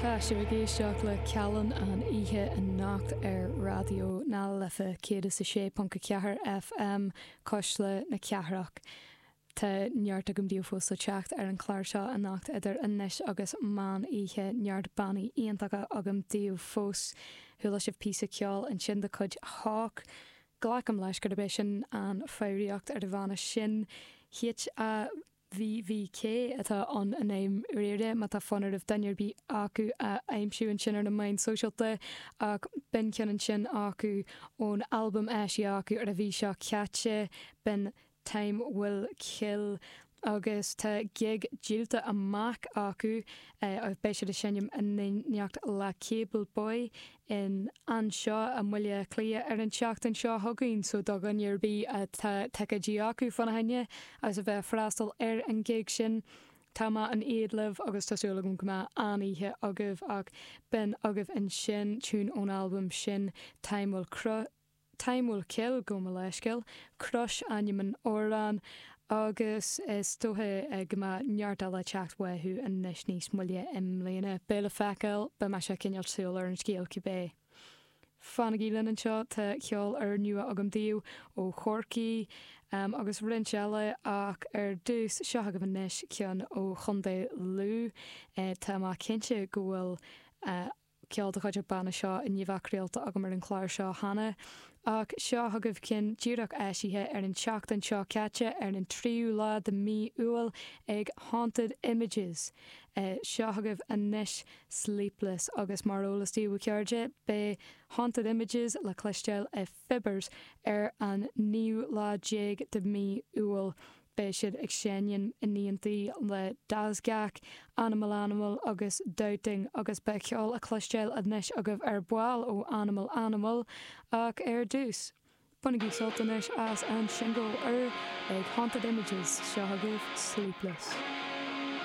Tá sibh ag éisteacht le Callán an oíche anocht ar Raidió na Life 106.4 FM, Cuisle na Cathrach. Tá neart agam daoibh fós le teacht ar an chlár seo anocht idir anois agus meán oíche, neart bannaí iontacha agam daoibh fós. Chuala sibh píosa ceoil ansin de chuid Hawk. Glacaim leis gurb é sin an foghraíocht ar an bhanna sin. HAVVK atá ann i ndáiríre, má tá fonn oraibh duine ar bith acu a aimsiú ansin ar na meáin sóisialta. Ach b'in ceann ansin acu ón albam eisithe acu ar an mhí seo caite, b'in Time Will Kill agus tá gig díolta amach acu agus beidh siad ag seinm in éineacht le Cable Boy in anseo i mBaile Átha Cliath ar an tseachtain seo chugainn so do dhuine ar bith atá ticéidí acu fána choinne agus a bheith ag freastal ar an gig sin tá mé in éad libh agus tá súil agam go mbeidh an-oíche agaibh ach b'in agaibh ansin tune ón albam sin Time Will Time Will Kill, gabh mo leithscéal, Crush ainm an amhráin agus is dócha go mbeidh neart eile ag teacht uathu anois níos moille i mbliana. Beidh le feiceáil, beidh mise ag coinneáil súil ar an scéal cibé. Fanaigí linn anseo, tá ceol úrnua agam daoibh ó Chorcaigh agus roinnt eile ach ar dtús, seo agaibh anois ceann ó Chontae Lú. Tá mé cinnte go bhfuil ceol de chuid an bhanna seo i ndiaidh bheith craolta agam ar an chlár seo cheana, ach seo chugaibh ceann díreach eisithe ar an tseachtain seo caite, ar an tríú lá de mí Iúil, ag Haunted Images. Seo chugaibh anois Sleepless, agus mar eolas daoibh a chairde, beidh Haunted Images le cloisteáil i Fibber's ar an naoú lá déag de mí Iúil. Beidh siad ag seinm in éindí le Dazgak, Animal Animal agus Doubting agus beidh ceol á chloisteáil anois agaibh ar ball ó Animal Animal ach ar dtús, bainigí sult anois as an singil úr ag Haunted Images, seo agaibh Sleepless.